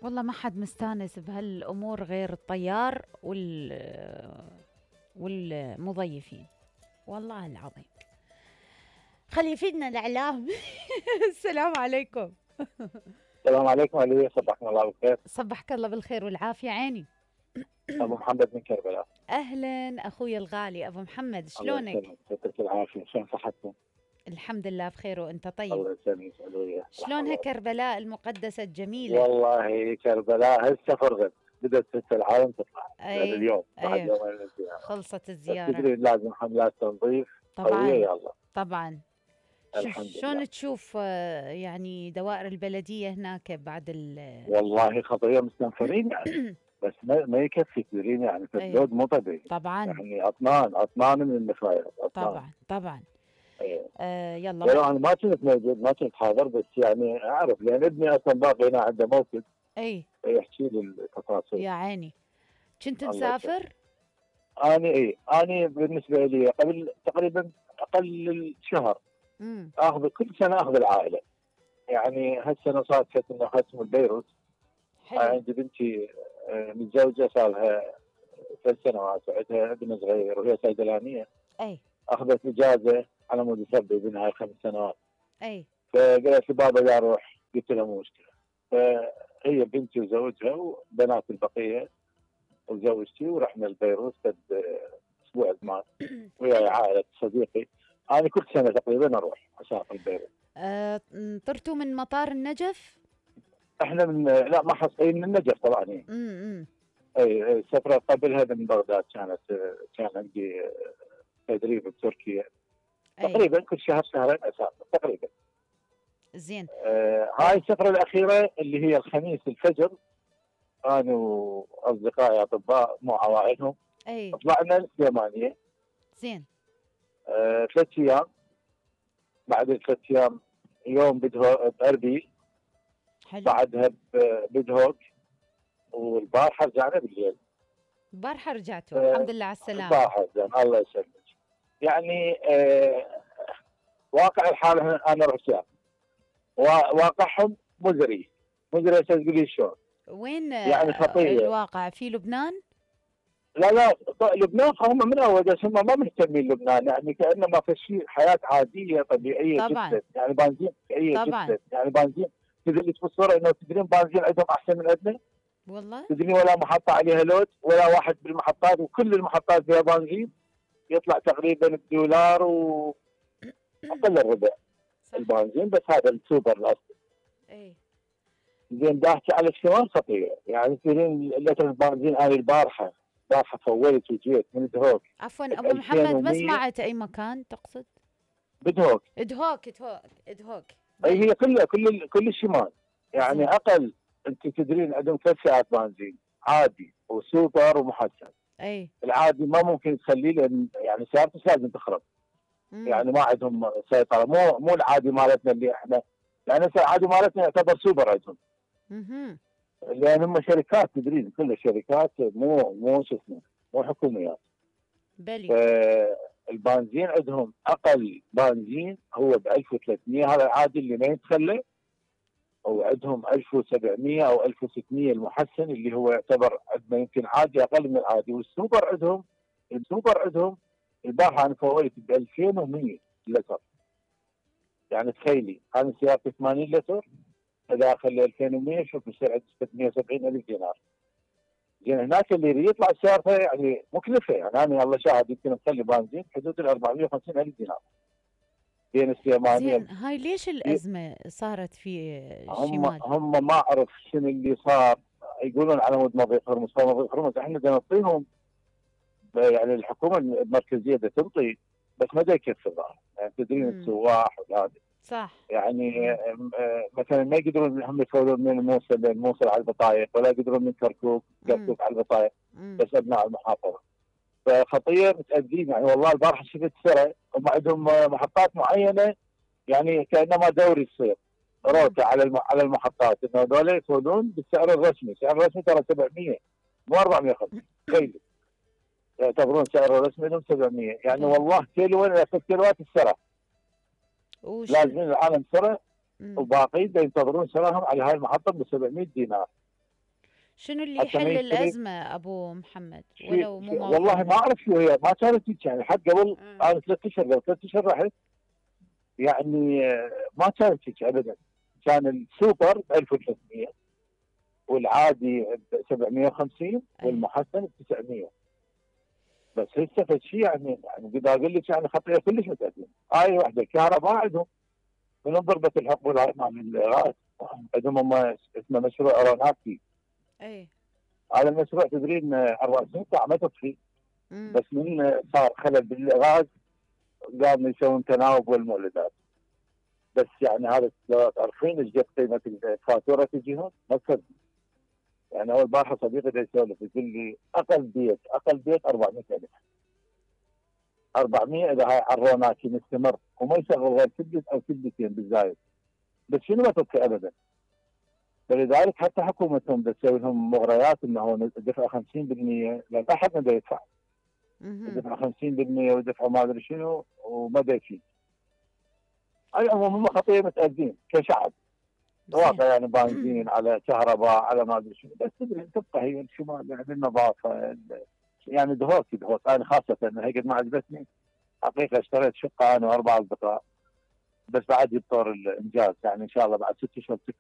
والله ما حد مستانس بهالامور غير الطيار والمضيفين. والله العظيم. خلي يفيدنا الاعلام. السلام عليكم. السلام عليكم علي، صبحكم الله بالخير. صبحك الله بالخير والعافيه عيني. ابو محمد من كربلاء. اهلا اخوي الغالي ابو محمد، الله شلونك؟ يسلمك، يعطيك العافيه، شلون صحتكم؟ الحمد لله بخير وانت طيب. الله يسلمك، علوية. شلونها كربلاء المقدسه الجميله؟ والله كربلاء هسه فرغت، بدات هسه العالم تطلع يعني اي اليوم بعد اي يومين من الزياره. خلصت بس الزياره. تدري لازم حملات تنظيف قويه، طبعا يلا. طبعا. الحمد لله. شلون تشوف يعني دوائر البلديه هناك بعد والله خطيه مستنفرين يعني. بس ما يكفي، تدرين يعني اي فاللود مو طبيعي. طبعا يعني اطنان من النفايات، اطنان. طبعا طبعا. إيه. يلا ولو انا ما كنت موجود، ما كنت حاضر، بس يعني اعرف لان ابني اصلا باقي هنا عنده موقف اي يحكي لي التفاصيل. يا عيني. كنت الله يسلمك. مسافر؟ اني بالنسبه لي قبل تقريبا اقل شهر اخذ كل سنه اخذ العائله. يعني هالسنه صادفت انه ختم البيروت. حلو. عندي بنتي متزوجه صار لها 3 سنوات، وعندها ابن صغير وهي صيدلانيه. اي اخذت اجازه على مود يسبب ابنها 5 سنوات. اي فقالت لي بابا لا اروح، قلت لها مو مشكله. فهي بنتي وزوجها وبنات البقيه وزوجتي ورحنا البيروت قد اسبوع زمان وياي عائله صديقي. انا كل سنه تقريبا اروح اسافر البيروت. طرتوا من مطار النجف؟ احنا من لا ما حصلين من النجف طبعا. امم اي السفره قبلها من بغداد كانت. كان عندي تدريب بتركيا. اي تقريبا كل شهر شهرين اسافر تقريبا. زين. هاي السفره الاخيره اللي هي الخميس الفجر، انا واصدقائي اطباء مو عوائلهم اي طلعنا السليمانيه. زين. 3 ايام. بعد ال3 ايام يوم باربيل، حلو. بعدها بدهوك، والبارحه رجعنا بالليل. البارحه رجعتوا الحمد لله على السلامه. البارحه زين الله يسلمك. يعني واقع الحال انا رحت واقعهم مزري. مزري تقولي شلون؟ وين يعني خطيه. الواقع في لبنان؟ لا لبنان هم من اول، بس هم ما مهتمين لبنان، يعني كانه ما في شيء، حياه عاديه طبيعيه طبعا جدا، يعني بنزين طبيعيه طبعا. جدا، يعني بنزين. تدري تفسر انه تدرين بنزين عندهم احسن من عندنا؟ والله تدري ولا محطه عليها لود ولا واحد بالمحطات، وكل المحطات فيها بنزين يطلع تقريبا بدولار واقل الربع صح. البنزين، بس هذا السوبر الاصلي. اي زين دا احكي على الشمال خطيره، يعني تدرين لتر البنزين انا البارحه فولت وجيت من دهوك عفوا ب ابو محمد، ما 2100 سمعت اي مكان تقصد؟ بدهوك. ادهوك. اي بلى. هي كل الشمال. يعني زين. اقل، انت تدرين عندهم 3 فئات بنزين، عادي وسوبر ومحسن. اي العادي ما ممكن تخليه، لان يعني سيارته لازم تخرب. يعني ما عندهم سيطره، مو العادي مالتنا اللي احنا، يعني العادي مالتنا يعتبر سوبر عندهم. امم لان هم شركات، تدرين كلها شركات، مو شو اسمه، مو حكوميات. بلي. فالبنزين عندهم اقل بنزين هو ب 1300، هذا العادي اللي ما يتخلى. وعندهم 1700 او 1600 المحسن اللي هو يعتبر عندنا يمكن عادي اقل من العادي. السوبر عندهم البارحه انا فويت ب 2100 لتر. يعني تخيلي انا سيارتي 80 لتر، اذا اخلي 2100 شوف بصير عندي 670 الف دينار. زين هناك اللي يريد يطلع سيارته يعني مكلفه، يعني انا الله شاهد يمكن مخلي بنزين حدود ال 450 الف دينار بين السليمانيه. زين هاي ليش الازمه صارت في الشمال؟ هم ما اعرف شنو اللي صار. يقولون على مود مضيق هرمز، مضيق هرمز احنا بدنا نعطيهم، يعني الحكومه المركزيه بدها تنطي، بس ما دا يكفي الظاهر. يعني تدرين السواح وهذا صح. يعني مثلا ما يقدرون هم يسوون من الموصل للموصل على البطايق، ولا يقدرون من كركوك على البطايق، بس ابناء المحافظه. فخطيه متاذين يعني. والله البارحه شفت سرعه، هم عندهم محطات معينه، يعني كانما دوري يصير روته على المحطات، انه هذول يسوون بالسعر الرسمي. السعر الرسمي ترى 700 مو 450. تخيل يعتبرون سعر الرسمي لهم 700. يعني والله كيلو وين ياخذ كيلوات السرعه. لازم العالم سرعه، وباقي ينتظرون سراهم على هاي المحطه ب 700 دينار. شنو اللي حتى ما يحل يشتري الأزمة أبو محمد شيء ولو مو والله ما موضوعنا؟ اعرف شو هي، ما كانت هيك يعني. حتى قبل آه. انا 3 اشهر، قبل 3 اشهر رحت يعني ما كانت هيك ابدا. كان السوبر ب 1300 والعادي ب 750 ايه. والمحسن ب 900. بس هسه فشي يعني بدي اقول لك يعني خطيه كلش متقدمه. هاي وحده الكهرباء عندهم من ضربه الحقول هاي مال الغاز. عندهم هم اسمه مشروع ايروناوتي. ايه. هذا المشروع تدرين 24 ساعه ما تطفي. امم. بس من صار خلل بالغاز قاموا يسوون تناوب والمولدات. بس يعني هذا لو تعرفين ايش قد قيمه الفاتوره تجيهم ما تصدق. يعني اول بارحه صديقي دا يسولف يقول لي اقل بيت 400,000. 400 اذا هاي عروناكي مستمر وما يشغل غير كبت او كبتين بالزايد. بس شنو ما تبقي ابدا. فلذلك حتى حكومتهم تسوي لهم مغريات انه دفع 50%، لان احد ما دا يدفع. يدفع 50% ويدفع ما ادري شنو وما دا يفيد. على العموم هم خطيه متاذين كشعب. زين. واقع يعني بنزين على كهرباء على ما ادري شنو. بس تدري تبقى هي الشمال يعني النظافه يعني دهوك انا خاصه هي قد ما عجبتني. حقيقه اشتريت شقه انا و4 اصدقاء. بس بعد يبطر الانجاز يعني ان شاء الله بعد 6 اشهر تكمل.